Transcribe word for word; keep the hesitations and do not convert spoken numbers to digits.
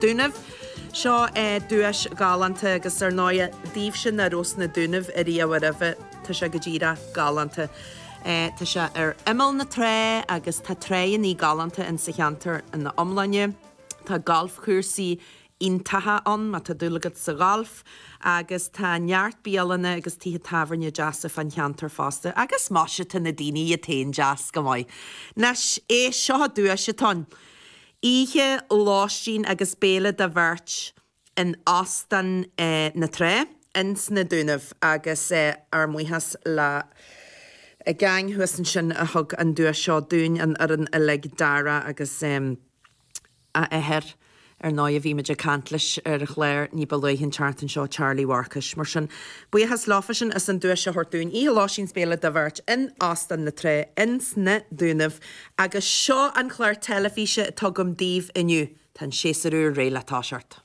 Dúnaibh. Seo duais galánta agus ar ndóigh daoibhse nach raibh sna Dúnaibh ariamh roimhe, tá sé go díreach galánta. Tá sé ar imeall na trá agus tá tránna galánta in sa cheantar ina iomláine. Tá galfchúrsaí iontacha ann má tá dúil agat sa ghalf agus tá neart bialanna agus tithe tábhairne deasa fan cheantar fosta agus más tá na daoine iad féin deas go maith. Anois é seo duais atá ann. Oíche lóistín agus béile do bheirt in Óstán eh, na Trá in sna Dúnaibh agus eh, ár mbuíochas le a gang thuas ansin a thug an duais seo dúinn an fhoireann uilig Dara agus um, a athair ar ndóigh a bhí muid ag caint leis ar chlár ní ba luaithe an tseachtain seo Charlie Mharcais. Mar sin buíochas leofa sin as an duais a thabhairt dúinn oíche lóistín 's béile do bheirt in Óstán na Trá in sna Dúnaibh agus seo an chlár teilifíse atá agam daoibh inniu Tá an séasúr úr réidh le toiseacht.